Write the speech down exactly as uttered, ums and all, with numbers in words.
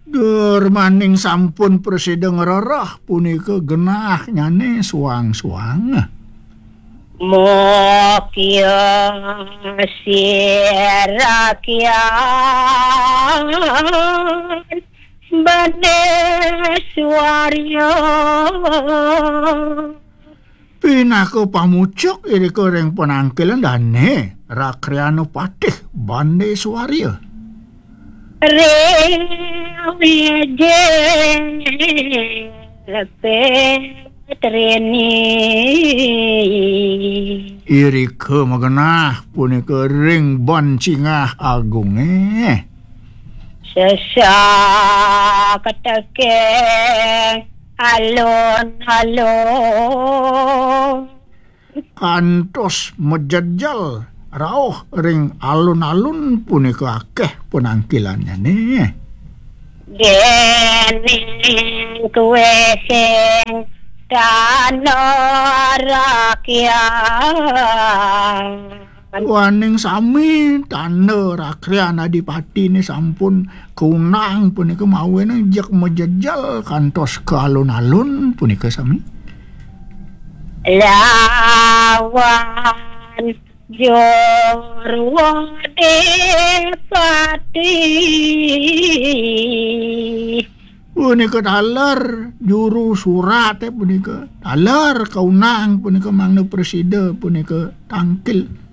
Germaning sampun prasida ngrereh punika genahnyané suang-suang. Mokya sira kyan Bandeswarya. Pinaka pamucuk irika ring panangkilan dané Rakriana Patih Bandeswarya. Ring wijil Petrini. Irika magenah punika ring ban Cingah Agungé. Sesaketeke alun-alun. Kantos majejel rauh ring alun-alun punika akéh panangkilannyané. Déning kué sing tanda rakyat. Waning sami tanda rakrian adipatiné sampun kaunang punika mawinan jeg majejel kantos ka alun-alun punika sami. Lawan Jurwadipati. Punika taler juru suraté punika. Taler kaunang punika mangda prasida punika tangkil.